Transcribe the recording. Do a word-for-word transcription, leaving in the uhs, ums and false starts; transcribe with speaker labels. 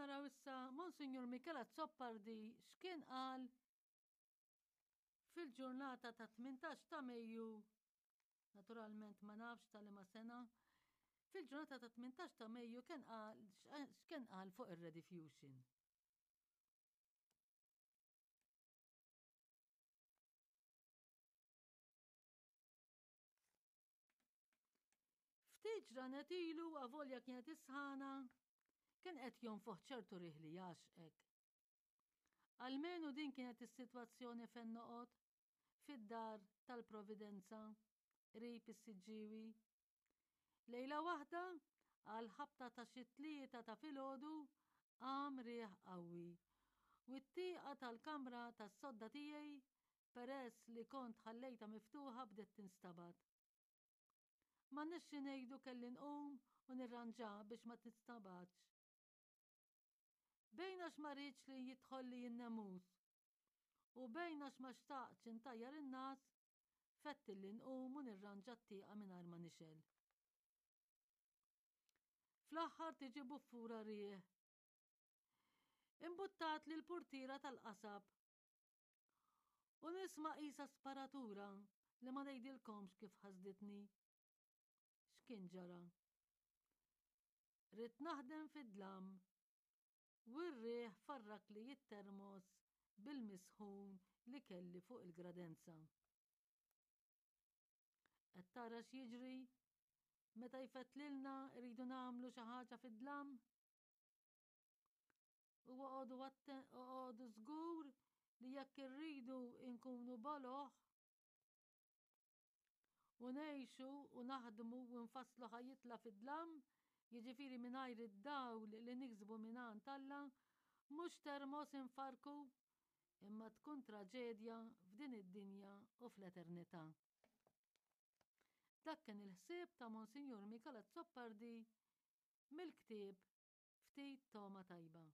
Speaker 1: naraw issa Monsinjur Michel Azzopardi x'kien qal fil-ġurnata ta' tmintax ta' Mejju, naturalment ma nafx ta' liema sena, fil-ġurnata ta' tmintax ta' Mejju kien qal x'kien qal fuq ir-rediffusion. Ftit ġranet ilu avolja kienet isħana, kien qed jonfoħ ċertu riħ li jgħaxqek. Almenu din kienet is-sitwazzjoni fejn noqgħod, fid-dar tal-Providenza, qrib is-Siġġiewi. Lejla waħda, għal ħabta ta' xi tlieta ta' filgħodu, qam riħ qawwi u t-tieqa tal-kamra tas-sodda tiegħi, peress li kont ħallejtha miftuħa bdiet tinstabat. M'għandniex xi ngħidu kelli nqum u nirranġa biex ma tinstabatx. Bejn għax ma rridx li jidħolli n-nemus u bejn għax ma xtaqtx intajjar in-nas, fettilli nqum u nirranġa t-tieqa mingħajr ma nixgħel. Fl-aħħar tiġi buffura riħ. Imbuttat li l-purtiera tal-qasab u nisma' qisha sparatura li ma ngħidilkomx kif ħasditni. X'kien ġara? Ridt naħdem fid-dlam u r-riħ farrakli t-termos bil-misħun li kelli fuq il-gradenza. Qed tara x'jiġri meta jfettlilna rridu nagħmlu xi ħaġa fid-dlam? U oqogħdu oqogħdu żgur li jekk irridu nkunu boloh u ngħixu u naħdmu u nfasslu ħajjitna fid-dlam, jiġifieri mingħajr id-dawl li niksbu mingħand Alla, mhux termos infarku, imma tkun traġedja f'din id-dinja u fl-eternità. Dak kien il-ħsieb ta' Monsinjur Michel Azzopardi mill-ktieb Ftit Togħma Tajba.